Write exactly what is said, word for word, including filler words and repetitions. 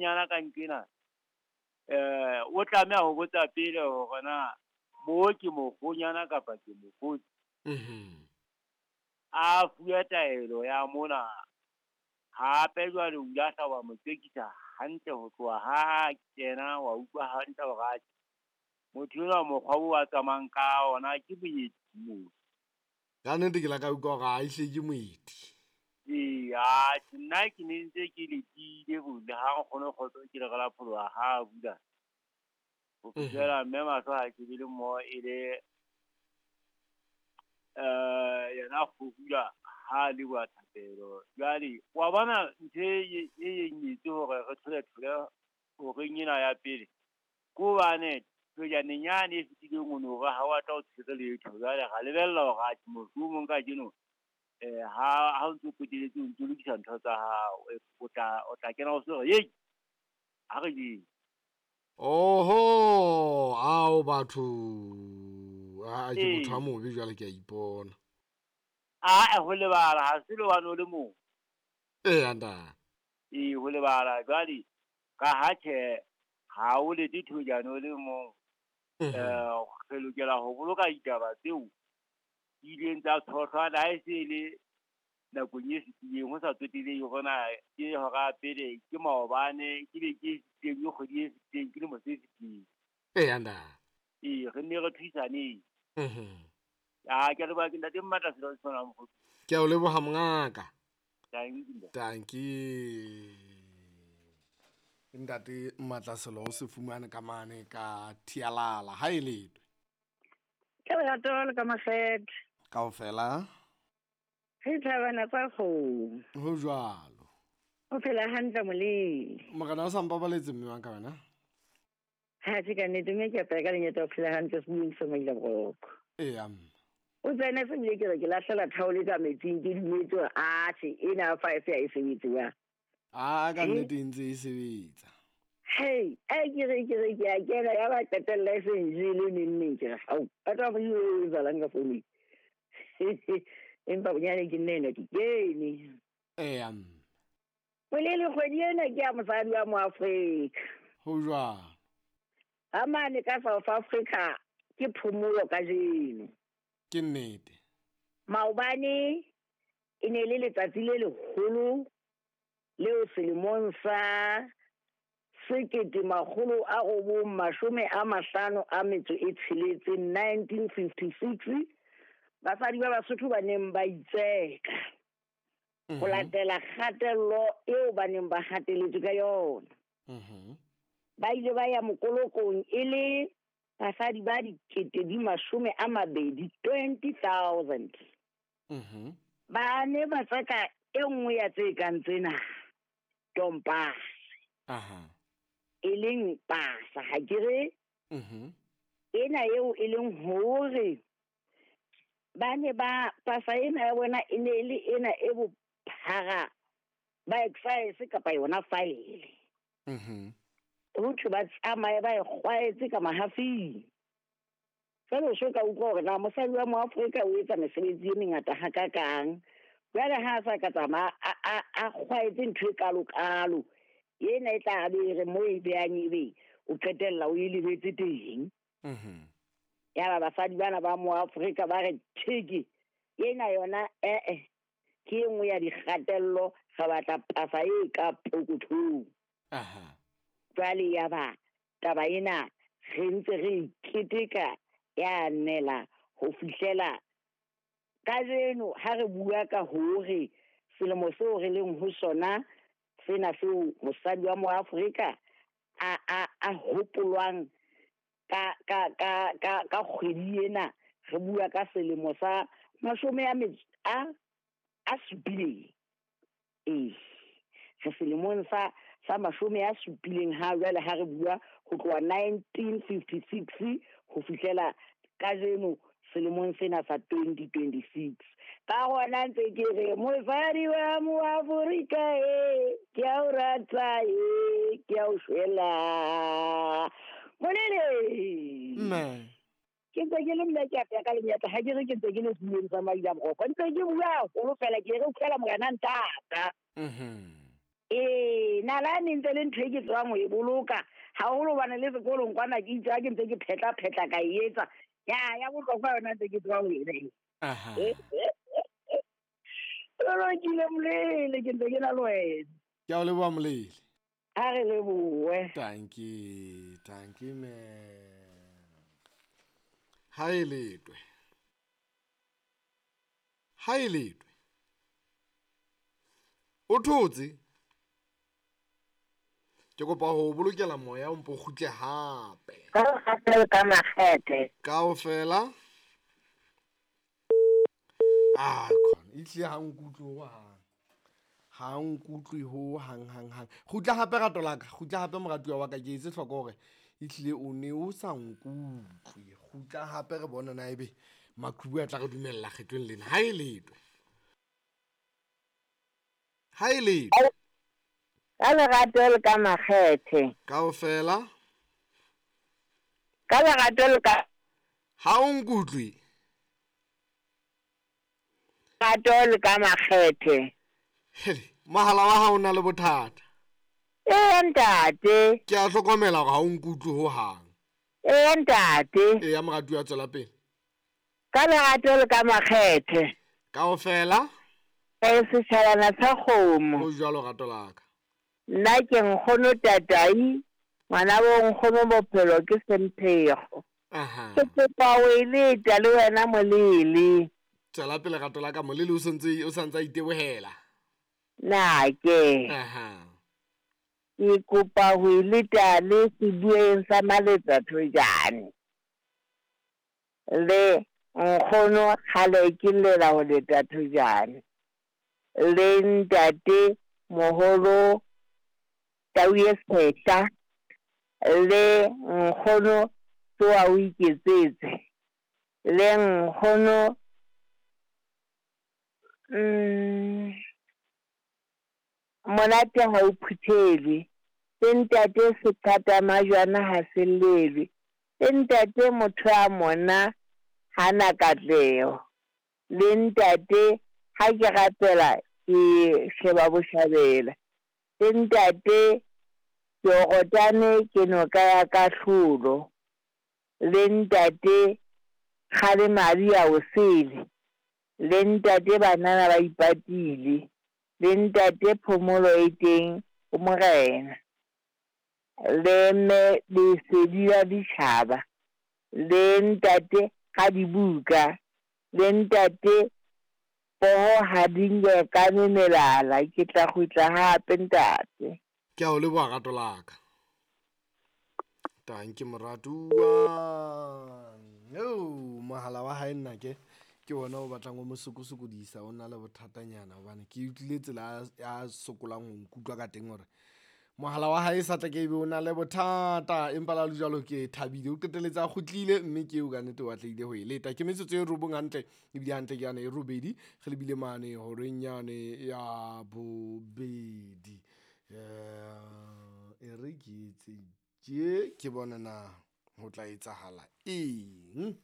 mokgonyana ka nkena eh o tlameha ho botsa pele hore na mo ke mokgonyana kapa ke mokgotsi. Mhm. A fuwe taelo ya mona hape jwale o ile a hla wa mo tsekisa hantle ho tloha ha kena wa utlwa hantle hore atjhe motho enwa mokgwa oo a tsamayang ka ona ke moeti mona. Ka nnete ke la ka utlwa hore ha ehlile ke moeti. Ee, atjhe nna ke ne ntse ke lekile bo le ha nkgono Kgotso ke le re la pholoha ha bula. Ho fihlela mme mahlo ha shebile mmoho e le eh yena kgorula ha leboha thapelo. Jwale wa bona ntho e e etse hore re thole thole horeng ena ya pele. Ke hobane thojaneng yane e fetileng o no re ha wa tla o tshwere letho. Jwale ra lebella hore atjhe mohlomong kajeno eh ha ha o ntso poteletse o ntso lokisa ntho tsa hao, o tla o tla kena o so re hei ha re jeng. Oho, ao batho. A ke motho a mobe jwale ke a ipona. Ae ho lebala ha se le hobane o le mong. Eya ntate. Ee ho lebala jwale ka ha tjhe ha o lete thojane o le mong. Eh re lokela ho boloka ditaba tseo di ileng tsa tshohlwa le ha e se le nakong e fetileng ho sa tsotelehe hore na ke hora ya pele, ke maobane, ke beke e fetileng, ke kgwedi e fetileng, ke lemo se fetileng. Eya ntate. Ee re nne re thusaneng. Mhm. Ah ke a leboha ke ntate Mmatla selo se tshwanang mokgotsi. Ke a o leboha mongaka. Tanki. Tanki. Ntate Mmatla selo o se fumane ka mane ka Thialala ha e letwe. Ke lerato le ka makgethe. Kaofela. Re thabana tsa kgomo. Ho jwalo. O phela hantle moleng. Morena o sa mpabaletse mme wa ka wena? Ha ke ka nnete mme ke apaya ka lenyata o phela hantle sebueng sa Maila Boroko. Eya mme. O tsene se bile ke re ke lahlela thaole ka metsing ke dumetse hore atjhe ena five ya e sebetse wa. A ka nnete e ntse e sebetsa. Hey, a ke re ke re ke a kena ya ba qetella e se njele neng neng ke re hao. A tla go e etsahalang ka founung. Empa bonyane ke nne ena ke kene. Eya mme. Molele kgwedi ena ke ya mosadi wa Moafrika. Ho jwalo. Ha mane ka South Africa ke phomolo kajeno. Ke nnete. Maobane e ne le letsatsi le leholo leo selemong sa sekete makgolo a robong mashome a mahlano a metso e tsheletseng nineteen fifty-six basadi ba Basotho ba neng ba itseka ho latela kgatello eo ba neng ba hateletswe ka yona. Mhm. Ba ile ba ya mokolokong e le basadi ba dikete di mashome a mabedi twenty thousand. Mhm. Ba ne ba tseka e nngwe ya tse kang tsena tompase. Aha. E leng pasa ha ke re? Mhm. Ena eo e leng hore ba ne ba pasa ena ya bona e ne e le ena e bophara ba excise kapa yona file. Mhm. Ho thwe ba tsamaye ba e kgwaetse ka mahafing. Jwale o so ka utlwa hore na mosadi wa Moafrika o etsa mesebetsi e mengata hakakang. Jwale ha a sa ka tsamaya a, a, a kgwaetse ntho e kalo-kalo, ena e tla be e re mo e behang ebe o qetella o e lebetse teng. Mhm. Yaba basadi bana ba Moafrika ba re theke ena yona eh-eh ke e nngwe ya dikgatello, re batla pasa e ka pokothong. Aha. Jwale yaba taba ena re ntse re e keteka ya nela ho fihlela kajeno ha re bua ka hore selemo seo re leng ho sona sena seo mosadi wa Moafrika a, a, a hopolwang ka, ka, ka, ka, ka kgwedi ena, re bua ka selemo sa mashome a metso a, a supileng. Ee, re selemong sa, sa mashome a supileng ha jwale ha re bua ho tloha nineteen fifty-six ho fihlela kajeno selemong sena sa twenty twenty-six. Ka hona ntse ke re mosadi wa Moafrika e, ke a o rata e, ke a o shwela. Molele. Mme. Ke ntse ke le mme ke apea ka lenyatsa, ha ke re ke ntse ke le sebueng sa Maila Boroko. Ntse ke bua haholo fela, ke re utlwela morena ntata. Mhm. Ee, nalane ntse le ntho e ke tsebang ho e boloka haholo hobane le sekolong kwana ke itse ha ke ntse ke phetla phetla ka e etsa. Ya ya bohlokwa yona ntse ke tseba ho e beha. Aha. Lolokile Molele, ke ntse ke na le wena. Ke a o leboha Molele. Ha re lebohe. Tanki, tanki me. Ha e letwe. Ha e letwe. O thotse? Ke kopa ho bolokela moya o mpo kgutle hape. Ka kgatelo ka makgethe. Kaofela. Ah, khona. Ehlile ha nkutlwe ho hang. Ha nkutlwe ho hang hang hang. Kgutla hape rato la ka. Kgutla hape moratuwa wa ka, ke etse hloko hore ehlile o ne o sa nkutlwe. Kgutla hape re bone na ebe maqhubu a tla re dumella kgetlong lena. Ha e letwe. Ha e letwe. Ka lerato le ka makgethe. Kaofela. Ka lerato le ka Ha o nkutlwe. Lerato le ka makgethe. Hele, mohala wa hao o na le bothata. Ee ntate. Ke a hlokomela hore ha o nkutlwe ho hang. Ee ntate. Eya moratuwa, tswela pele. Ka lerato le ka makgethe. Kaofela. E setjhabana sa kgomo. Ho jwalo rato la ka. Nna ke nkgono Tatai, ngwana bo nkgono bophelo ke Semphego. Aha. Ke kopa ho e leta le wena Molele. Tswela pele rato la ka, Molele o santse o santse a itebohela. Na ke. Aha. Ke kopa ho e leta le sebueng sa Maletsa Thojane. Le nkgono kgale ke llela ho leta Thojane. Le ntate moholo Tau e Sehla, le nkgono Tsoa o iketsetse, le nkgono mm, monate ha o phuthelwe, le ntate seqhata majwana ha se llelwe, le ntate motho a mona hana katleho, le ntate ha ke rapela ke sheba boshabela, le ntate Jorotane ke noka ya kahlolo, le ntate kgale madi a o sele, le ntate banana ba ipatile, le ntate phomolo e teng ho morena, le mme lesedi la ditjhaba, le ntate ga dibuka, le ntate poho ha di nkekane melala. Ke tla kgutla hape ntate. Ke a o leboha rato la ka. Tanki moratuwa. Yo, mohala wa hae nna ke ke wona o batlang o mo sokosokodisa, o na le bothatanyana hobane ke utlwile tsela ya sokolang ho nkutlwa ka teng hore mohala wa hae sa tla ke ebe o na le bothata, empa la le jwalo ke thabile o qeteletse a kgutlile, mme ke eo ka nnete o atlehile ho e leta. Ke metsotso e robong hantle, ebile hantle ke yane e robedi, re lebile mane horeng yane ya bobedi. Eh, e re ke etse tje, ke bone na ho tla etsahala eng.